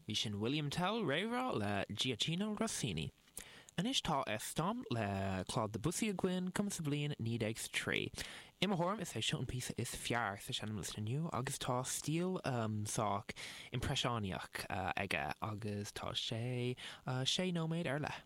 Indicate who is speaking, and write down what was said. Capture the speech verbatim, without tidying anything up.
Speaker 1: Bhí sin William Tell réamhrá le Gioachino Rossini. Anois tá Estampes le Claude Debussy againn cumtha sa bhliain naoi déag is trí. I mo thuairim is é seo an píosa is fearr sa seinmliosta inniu agus tá stíl um, sách impreisiúnaíoch uh, aige agus tá sé uh, sé nóiméad ar leith.